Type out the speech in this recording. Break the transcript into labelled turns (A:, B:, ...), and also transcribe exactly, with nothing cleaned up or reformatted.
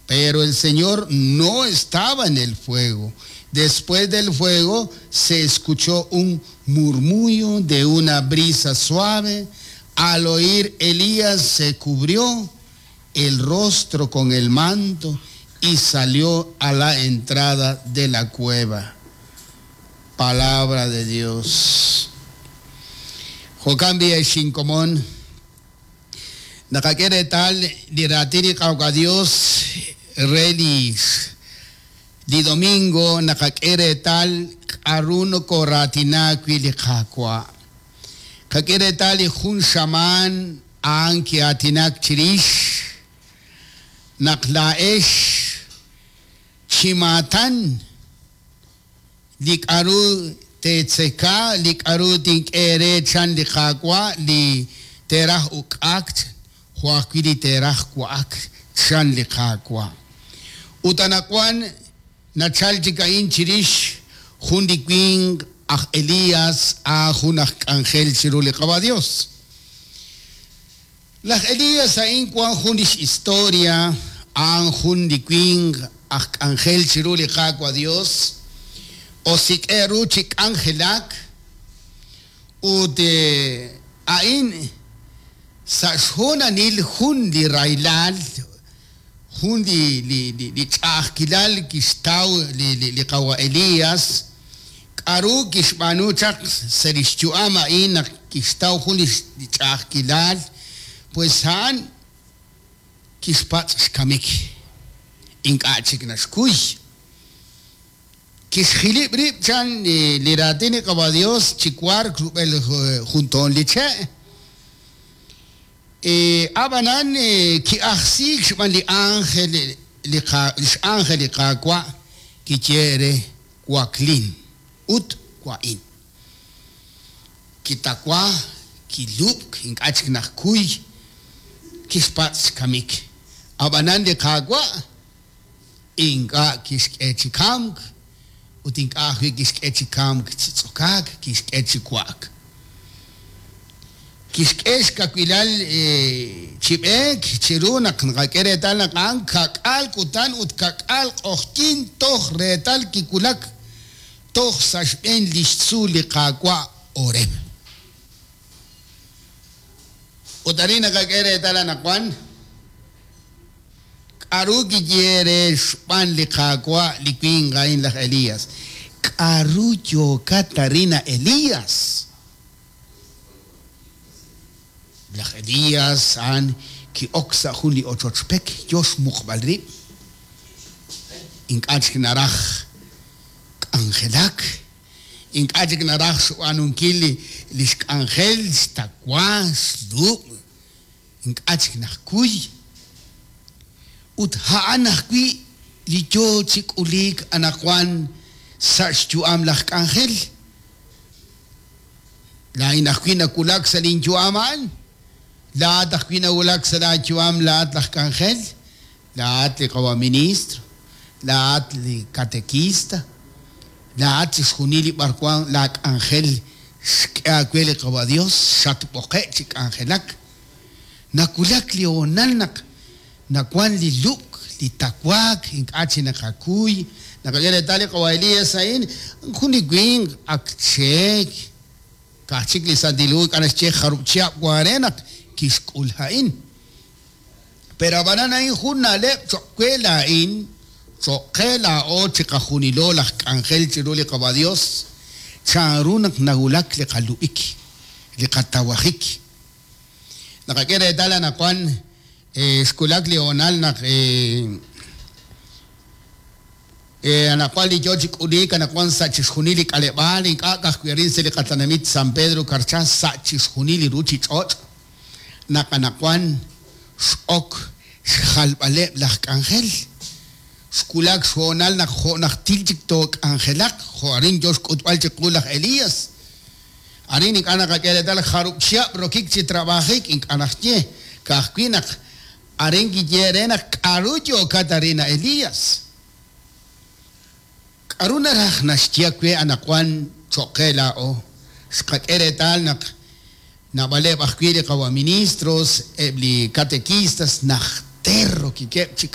A: Pero el Señor no estaba en el fuego. Después del fuego se escuchó un murmullo de una brisa suave. Al oír Elías se cubrió el rostro con el manto y salió a la entrada de la cueva. Palabra de Dios. Jo'kan b'i' ex inkomon naqak'e reetal li raatin li Qaawa' Dios re li li domingo naqak'e reetal k'aru nokoraatina wi' li Qaawa'. Qak'e reetal li jun xamaan a'an ki'aatinak chirix naq laa'ex chi maatan li k'aru teetzeka, li k'aru tink'e eere chan li Qaawa' li teeraj uk'ak jo' ajwi' li teeraj wa'ak chan li Qaawa'. Ut anaqwan nachal chik a'in chirix jun li winq aj Elías a jun aj k'anjel chiru li Qaawa' Dios. Laj Elías a'in wan jun lix historia a'an jun li winq aj k'anjel chiru li Qaawa' Dios osik'e ru chi k'anjelak ut a'in sa' xhoonalil jun li rahilal jun li li li ch'a'ajkilal kixtaw li li li Qawa' Elías k'aru kixb'aanu chaq sa' lix yu'am a'in naq kixtaw jun li ch'a'ajkilal pues a'an kixpatz' xkamik ink'a' chik naxkuy kixjilib' rib' chan li raatin li Qaawa' Dios chi wark rub'el jun toon li che' ab'anan ki'ajsiik xb'aan li ángel li x'ángel li Qaawa' kiye re waklin ut wa'in kitawa kilub'k ink'a' chik najkuy kixpatz' xkamik ab'anan li Qaawa' ink'a' kixk'e chi kamk ut ink'a' ajwi' kixk'e chi kamk chi tz'okaak kixk'e chi wa'ak kixk'e xkawilal chi b'eek chiru naq naqak'e reetal naq a'an kak'aal kutan ut kak'aal q'oqyink toj reetal kiwulak toj sa' xb'een li xtzuul li Qaawa' Horeb. Ut arin naqak'e reetal anaqwan k'aru kiye re xb'aan li Qaawa' li winq a'in laj Elías. K'aru yookat arin a Elías? Laj Elías a'an ki'ok sa' jun li ochoch pek yo xmuqb'al rib'. Ink'a' chik naraj k'anjelak, ink'a' chik naraj xb'aanunkil li li xk'anjel xtawa xlub', ink'a' chik najkuy. Ut a'an ajwi' li yo chi k'uliik anaqwan sa' xyu'am laj k'anjel. Laa'in ajwi' nawulak sa' linyu'am a'an. Laa'at ajwi' nawulak sa' laayu'am laa'at laj k'anjel, laa'at li qawa' ministro, laa'at li catequista, laa'at chixjunil li b'arwan laak'anjel xk'e aawe li Qaawa' Dios xatb'oqe' chi k'anjelak. Nawulak li hoonal naq nawan li lub'k, li tawaak, ink'a' chi naqakuy. Naqak'e reetal li Qawa' Elías a'in jun li winq ak cheek. Ka'aj chik li Santil Hu ink'a' naxye jarub' chihab' wan re naq kixk'ul a'in. Pero ab'anan a'in jun na'leb' cho'q we laa'in, cho'q qe laa'o chiqajunilo laj k'anjel chiru li Qaawa' Dios, chanru naq nawulak li qalub'ik, li qatawajik. Naqak'e reetal anaqwan xwulak li hoonal naq anaqwan li yo chi k'uliik anaqwan sa' chixjunil li k'aleb'aal ink'a' ka'ajwi' arin sa' li qatenamit San Pedro Carchá sa' chixjunil li ruuchich'och' naq anaqwan x'ok xjalb'aleb' laj k'anjel. Xwulak xhoonal naq jo' najtil chik took'anjelaq jo' arin yo xk'utb'al chiqu laj Elías. Arin ink'a' naqak'e reetal jarub' chihab' rokik chi trabajik ink'a' naxye ka'ajwi' naq arin kiye re naq k'aru yookat arin a Elías. K'aru naraj naxye we anaqwan cho'q qe laa'o. Xqak'e reetal naq naab'aleb' ajwi' li qawa' ministros, eb' li catequistas najter rokikeb' chi